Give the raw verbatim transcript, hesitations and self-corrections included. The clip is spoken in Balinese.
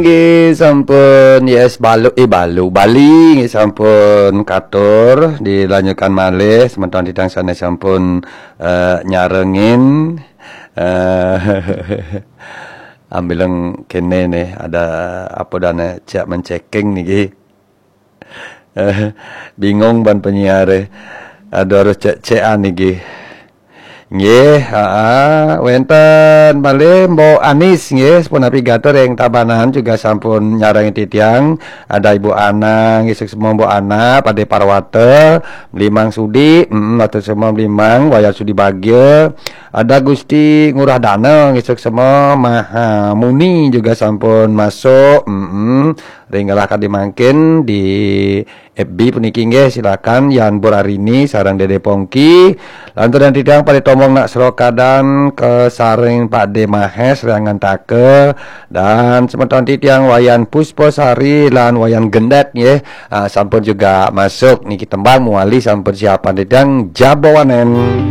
Nggih, sampun, yes, balu, eh, balu, bali, nggih, sampun katur, dilanjutkan malih, semeton titiang sané sampun, eh, nyarengin, eh, ambileng kéné nih, ada apa dané, cek menceking niki. Eh, bingung ban penyiar, eh. Aduh, harus cek-cekan niki. Nggih, aa, wénten malih Mbok Anis nggih, sapunapi gatur ing Tabanan juga sampun nyarengin titiang. Ada Ibu Ana nggih, suksma Mbok Ana, Padé Parwata, Mlimang Sudi, mm, atur semua Mlimang, Wayan Sudi Bagia. Ada Gusti Ngurah Dana nggih, suksma Maha Muni juga sampun masuk. Mm, ring galah kadi mangkin di F B puniki nggih, silakan Yan Burarini sareng Dédé Pongki. Lantur dan titiang Padé Tombong nak serokadan kasaring Padé Mahes Riangantaka dan semeton titiang Wayan Puspasari lan Wayan Gendét nggih. Ah, sampun juga masuk niki tembang muali sampun siapan titiang jabawanen.